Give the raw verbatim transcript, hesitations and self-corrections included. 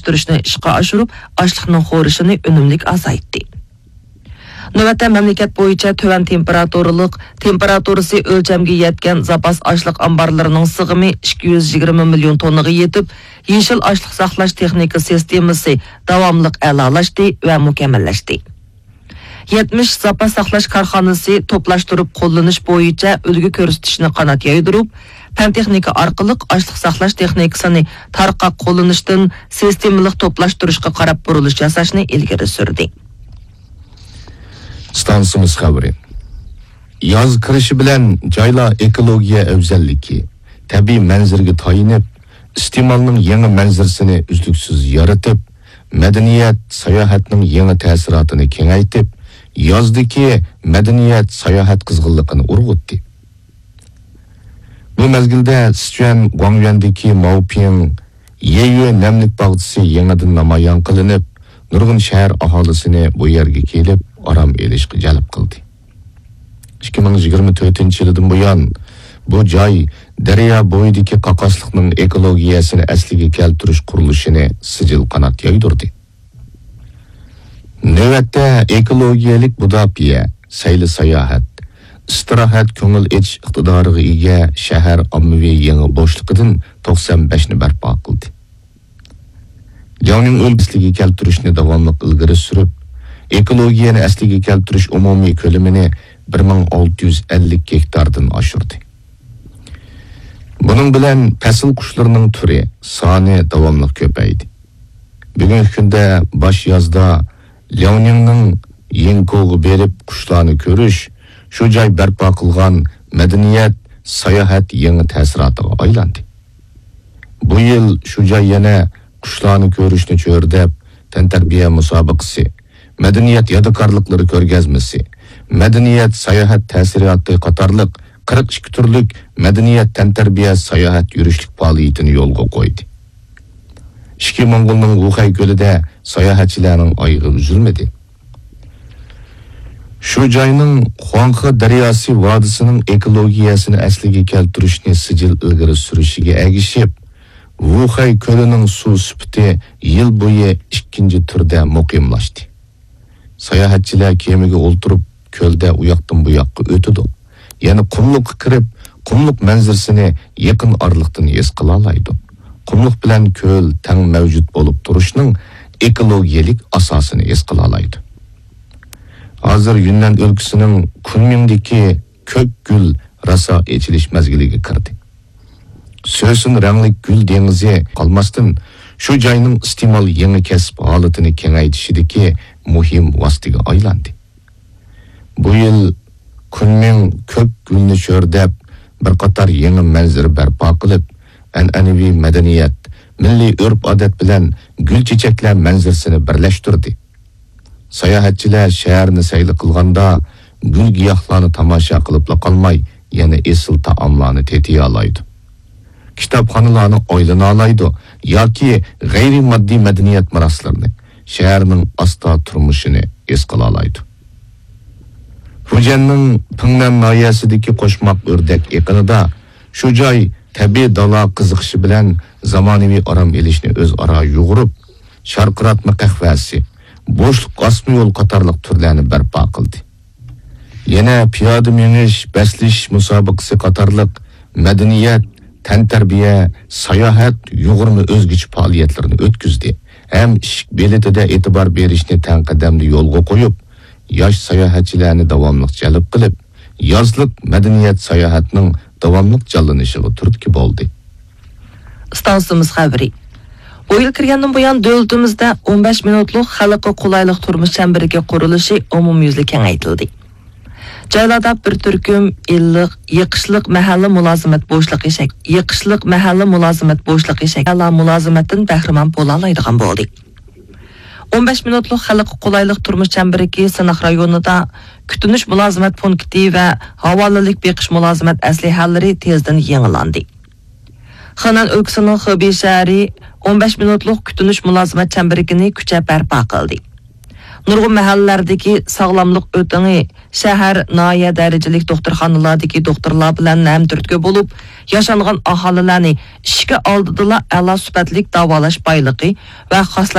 ئۆستۈرۈشنى ئىشقا ئاشۇرۇپ، ئاشلىقنىڭ خورىشىنى ئۈنۈملۈك ئازايتتى. نۆۋەتتە مەملىكەت بويىچە تۆۋەن تېمپېراتۇرىلىق، تېمپېراتۇرىسى ئۆلچەمگە يەتكەن زاپاس ئاشلىق ئامبارلىرىنىڭ سىغىمى ئىككى يۈز يىگىرمە مىليون توننىغا يېتىپ، يېشىل ئاشلىق ساقلاش تېخنىكا سىستېمىسى داۋاملىق ئەلالاشتى ۋە مۇكەممەللەشتى. يەتمىش زاپاس ساقلاش كارخانىسى توپلاشتۇرۇپ قوللىنىش بويىچە ئۈلگە كۆرسىتىشنى قانات يايدۇرۇپ، پەن تېخنىكا ئارقىلىق ئاشلىق ساقلاش تېخنىكىسىنى تارقاق قوللىنىشتىن سىستېمىلىق توپلاشتۇرۇشقا قاراپ بۇرۇلۇش ياساشنى ئىلگىرى سۈردى. ئىستانسىمىز خەۋىرى. ياز كىرىشى بىلەن جايلار ئېكولوگىيە ئەۋزەللىكى، تەبىئىي مەنزىرىگە تايىنىپ، ئىستېمالنىڭ يېڭى مەنزىرىسىنى ئۈزلۈكسىز يارىتىپ، مەدەنىيەت، ساياھەتنىڭ يېڭى تەسىراتىنى كېڭەيتىپ، يازدىكى مەدەنىيەت، ساياھەت قىزغىنلىقىنى ئۇرغۇتتى. بۇ مەزگىلدە سىچۈەن گۇاڭيۈەندىكى ماۋپىڭ يەيۈە نەملىك باغچىسى يېڭىدىن نامايان قىلىنىپ، نۇرغۇن شەھەر ئاھالىسىنى بۇ يەرگە كېلىپ ئارام ئېلىشقا جەلپ قىلدى. ئىككى مىڭ يىگىرمە تۆتىنچى يىلىدىن بۇيان، بۇ جاي دەريا بويىدىكى قاقاسلىقنىڭ ئېكولوگىيەسىنى ئەسلىگە كەلتۈرۈش قۇرۇلۇشىنى سىجىل قانات يايدۇردى. نۆۋەتتە ئېكولوگىيەلىك بۇداپىيە، سەيلە ساياھەت، ئىستىراھەت، كۆڭۈل ئېچىش ئىقتىدارىغا ئىگە شەھەر ئاممىۋى يېڭى بوشلۇقىدىن توقسان بەشنى بەرپا قىلدى. لياۋنىڭ ئۆلكىسىگە كەلتۈرۈشنى داۋاملىق ئىلگىرى سۈرۈپ، ئېكولوگىيەنى ئەسلىگە كەلتۈرۈش ئومۇمىي كۆلىمىنى بىر مىڭ ئالتە يۈز ئەللىك گېكتاردىن ئاشۇردى. بۇنىڭ بىلەن پەسىل قۇشلىرىنىڭ تۈرى، سانى داۋاملىق كۆپەيدى. بۈگۈنكى كۈندە باش يازدا لياۋنىڭنىڭ يىنكوغا بېرىپ قۇشلارنى كۆرۈش، شۇ جاي بەرپا قىلغان مەدەنىيەت، ساياھەت يېڭى تەسىراتىغا ئايلاندى. بۇ يىل شۇ جاي يەنە قۇشلارنى كۆرۈشنى چۆرىدەپ، تەنتەربىيە مۇسابىقىسى، مەدەنىيەت يادىكارلىقلىرى كۆرگەزمىسى، مەدەنىيەت ساياھەت تەسىراتى قاتارلىق قىرىق ئىككى تۈرلۈك مەدەنىيەت تەنتەربىيە ساياھەت يۈرۈشلۈك پائالىيىتىنى يولغا قويدى. ئىچكى موڭغۇلنىڭ ۋۇخەي كۆلىدە ساياھەتچىلەرنىڭ ئايىغى ئۈزۈلمىدى. شۇ جاينىڭ خۇاڭخې دەرياسى ۋادىسىنىڭ ئېكولوگىيەسىنى ئەسلىگە كەلتۈرۈشنى سىجىل ئىلگىرى سۈرۈشىگە ئەگىشىپ، ۋۇخەي كۆلىنىڭ سۇ سۈپىتى يىل بويى ئىككىنچى تۈردە مۇقىملاشتى. ساياھەتچىلەر كېمىگە ئولتۇرۇپ، كۆلدە ئۇياقتىن بۇياققا ئۆتىدۇ. يەنە قۇملۇققا كىرىپ، قۇملۇق مەنزىرىسىنى يېقىن ئارىلىقتىن ھېس قىلالايدۇ. قۇملۇق بىلەن كۆل تەڭ مەۋجۇت بولۇپ تۇرۇشنىڭ ئېكولوگىيەلىك ئاساسىنى ھېس قىلالايدۇ. ھازىر يۈننەن ئۆلكىسىنىڭ كۇنمىڭدىكى كۆك گۈل راسا ئېچىلىش مەزگىلىگە كىردى. سۆسۈن رەڭلىك گۈل دېڭىزى قالماستىن، شۇ جاينىڭ ئىستېمال يېڭى كەسىپ ھالىتىنى كېڭەيتىشىدىكى مۇھىم ۋاسىتىگە ئايلاندى. بۇ يىل كۇنمىڭ كۆك گۈلنى چۆرىدەپ، بىر قاتار يېڭى مەنزىرە بەرپا قىلىپ، ئەنئەنىۋى مەدەنىيەت، مىللىي ئۆرپ-ئادەت بىلەن گۈل-چېچەكلەر مەنزىرىسىنى بىرلەشتۈردى. ساياھەتچىلەر شەھەرنى سەيلە قىلغاندا، گۈل-گىياھلارنى تاماشا قىلىپلا قالماي، يەنە ئېسىل تائاملارنى تېتىيالايدۇ. كىتابخانىلارنى ئايلىنالايدۇ ياكى غەيرىي ماددىي مەدەنىيەت مىراسلىرىنى، شەھەرنىڭ ئاستا تۇرمۇشىنى ھېس قىلالايدۇ. فۇجيەننىڭ پىڭنەن ناھىيەسىدىكى قوشماق ئۆردەك ئېقىنىدا شۇ جاي تەبىئىي دالا قىزىقىشى بىلەن زامانىۋى ئارام ئېلىشنى ئۆزئارا يۇغۇرۇپ، شارقىراتما قەھۋەسى، بوشلۇق ئاسما يول قاتارلىق تۈرلەرنى بەرپا قىلدى. يەنە پىيادە مېڭىش، بەسلىشىش مۇسابىقىسى قاتارلىق مەدەنىيەت، تەنتەربىيە، ساياھەت، يۇغۇرما ئۆزگىچە پائالىيەتلىرىنى ئۆتكۈزدى ھەم ئىشىك بېلىتىدە ئېتىبار بېرىشنى تەڭ قەدەمدە يولغا قويۇپ، ياش ساياھەتچىلەرنى داۋاملىق جەلپ قىلىپ، يازلىق مەدەنىيەت ساياھەتنىڭ داۋاملىق جانلىنىشىغا تۈرتكە بولدى. ئىستانسىمىز خەۋىرى. بۇ يىل كىرگەندىن بۇيان، دۆلىتىمىزدە ئون بەش مىنۇتلۇق خەلققە قولايلىق تۇرمۇش چەمبىرىكى قۇرۇلۇشى ئومۇميۈزلۈك كېڭەيتىلدى. جايلاردا بىر تۈركۈم ئىللىق، يېقىشلىق مەھەللە مۇلازىمەت بوشلۇقى شەك-، يېقىشلىق مەھەللە مۇلازىمەت بوشلۇقى شەك-، ئەلا مۇلازىمەتتىن بەھرىمەن بولالايدىغان بولدى. ئون بەش مىنۇتلۇق خەلققە قولايلىق تۇرمۇش چەمبىرىكى سىناق رايونىدا كۈتۈنۈش مۇلازىمەت پونكىتى ۋە ھاۋالىلىك بېقىش مۇلازىمەت ئەسلىھەلىرى تېزدىن يېڭىلاندى. خېنەن ئۆلكىسىنىڭ خېبېي شەھىرى ئون بەش مىنۇتلۇق كۈتۈنۈش مۇلازىمەت چەمبىرىكىنى كۈچەپ بەرپا قىلدى. نۇرغۇن مەھەللىلەردىكى ساغلاملىق ئۆتىڭى شەھەر، ناھىيە دەرىجىلىك دوختۇرخانىلەردىكى دوختۇرلار بىلەن ھەمتۈرتكە بولۇپ، ياشانغان ئاھالىلەرنى ئىشىكى ئالدىدىلا ئەلا سۈپەتلىك داۋالاش بايلىقى ۋە خاسلاشقان